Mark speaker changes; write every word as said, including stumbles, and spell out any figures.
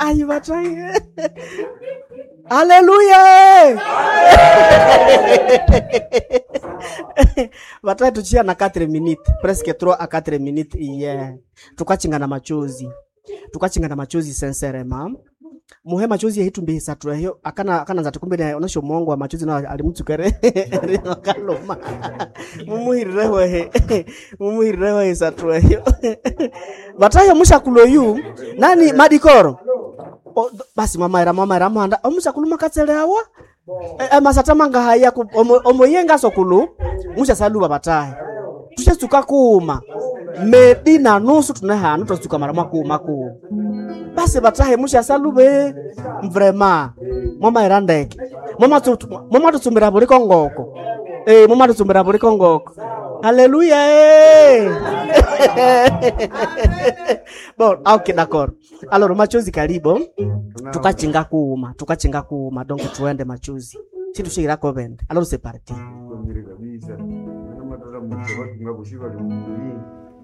Speaker 1: Ayi bataye. Haleluya! Bataye tuchia na quatre minutes, presque trois à quatre minutes yeah. Tukachinga na machozi. Tukachinga na machozi sincèrement. Muhe machozi yehitumbi hisatu eyo akana akana nzati kumbe naye onosho mwongo wa machozi na alimutsukere kaloma mumuhirireho ehe mumuhirireho hisatu eyo bataye mushakulo yu nani madikoro O, basi mwamaira mwamaira mwanda omusakulu makatsele awa e, masata mangahaya omoyenga sokulu mushasaluba batahe tushatsuka kuma medi na nusu tunehanu twatsuka mara mwakuma kuma basi batahe mushasalube vrema mwamaira ndeke mwamatutsumbira buli kongoko eh mwamatutsumbira buli kongoko haleluya eh bon ok d'accord alors machozi karibu tukachinga kuuma tukachinga kuuma donc tuende machozi situshikirako bende alors c'est parti
Speaker 2: Komire kabisa. Namatata mutse batunga bushiba lumbi.